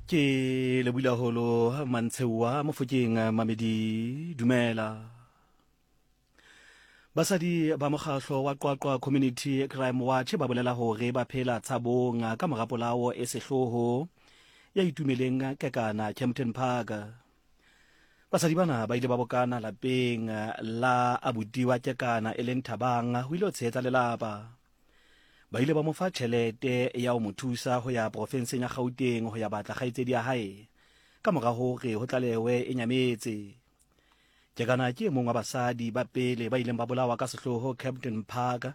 Ke lebohile haholo Mantsheuwa Mofokeng Mamedi dumela. Basadi ba mokgahlo wa Qwaqwa Community Crime Watch ba bolela hore ba phela tshabong ka mora polao e sehloho ya Itumeleng Kekana Kempton Park. Basadi bana ba ile ba bokana lapeng la abuti wa Kekana e leng Thabang ho ile ho tshehetsa lelapa. Ba ile ba mo fa tjhelete ya ho mo thusa ho ya porofenseng ya Gauteng ho ya batla kgaitsedi ya hae ka mora hore ho tlalewe e nyametse. Kekana ke e mong wa basadi ba pele ba ileng ba bolawa ka sehloho Kempton Park,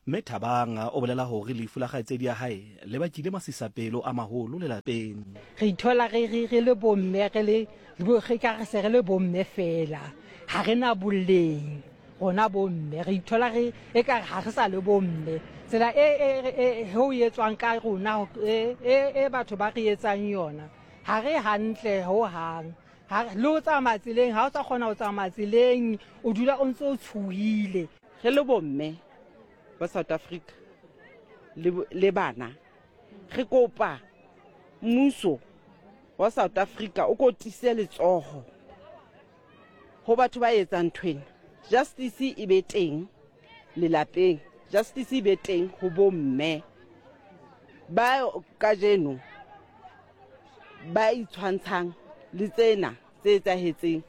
mme Thabang o bolela hore lefu la kgaitsedi ya hae le bakile masisapelo a maholo lelapeng. Re ithola re, re, re le bomme, re le, re ka re se re le bomme feela, ha re na boleng. Rona bomme re ithola re ekare ha re sa le bomme. Tsela e e e ho etswang ka rona e e batho ba re etsang yona ha re hantle ho hang. Ha le ho tsamaya tseleng ha o sa kgona ho tsamaya tseleng o dula o ntse o tshohile. Re le bomme ba South Africa le, le bana re kopa mmuso wa South Africa o ko tiise letsoho Ho batho ba etsang ntho ena, justice e be teng lelapeng, justice e be teng ho bomme ba kajeno ba itshwantshang le tsena tse etsahetseng.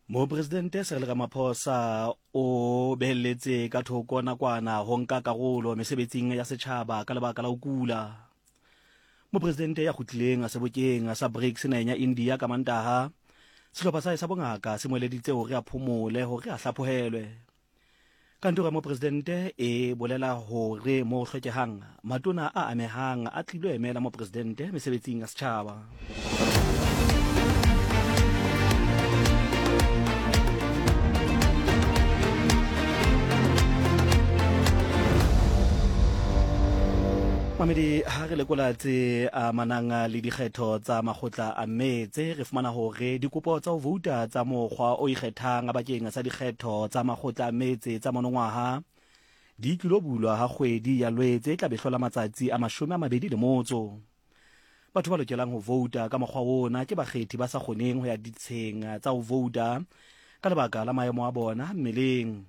Mopresidente Cyril Ramaphosa o behelletse ka thoko nakwana ho nka karolo mesebetsing ya setjhaba ka lebaka la ho kula. Mopresidente ya kgutlileng sebokeng sa BRICS naheng ya India ka Mantaha, sehlopha sa hae sa bongaka se mo eleditse hore a phomole hore a hlaphohelwe. Kantoro ya mopresidente e bolela hore mo ho hlokehang, matona a amehang a tlilo emela mopresidente mesebetsing ya setjhaba. Mamedi, ha re lekola tse amanang le dikgetho tsa makgotla a metse, re fumana hore dikopo tsa ho vouta tsa mokgwa o ikgethang bakeng sa dikgetho tsa makgotla a metse tsa monongwaha di tlilo bulwa ha kgwedi ya Lwetse e tla be hlola matsatsi a 28. Batho ba lokelang ho vouta ka mokgwa ona ke bakgethi ba sa kgoneng ho ya ditsheng tsa ho vouta ka lebaka la maemo a bona mmeleng.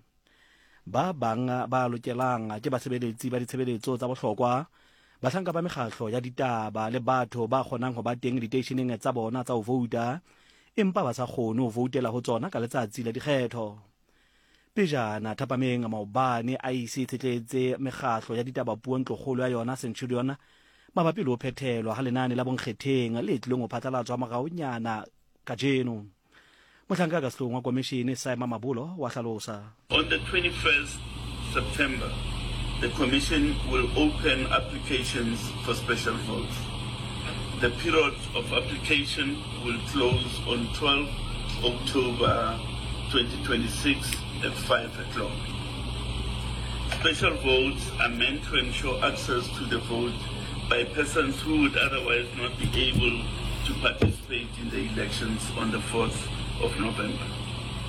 Ba bang ba lokelang ke basebeletsi ba ditshebeletso tsa bohlokwa, bahlanka ba mekgahlo ya ditaba le batho ba kgonang ho ba teng diteisheneng tsa bona tsa ho vouta empa ba sa kgone ho voutela ho tsona ka letsatsi la dikgetho. Pejana thapameng maobane, IEC e tshetletse mekgahlo ya ditaba puo ntlokgolo ya yona Centurion mabapi le ho phethelwa ha lenane la bonkgetheng le tlilong ho phatlalatswa moraonyana kajeno. Mohlanka ka sehloohong wa komishene Saima Mabolo wa hlalosa. On the 21st September, the Commission will open applications for special votes. The period of application will close on 12 October 2026 at 5 o'clock. Special votes are meant to ensure access to the vote by persons who would otherwise not be able to participate in the elections on the 4th of November.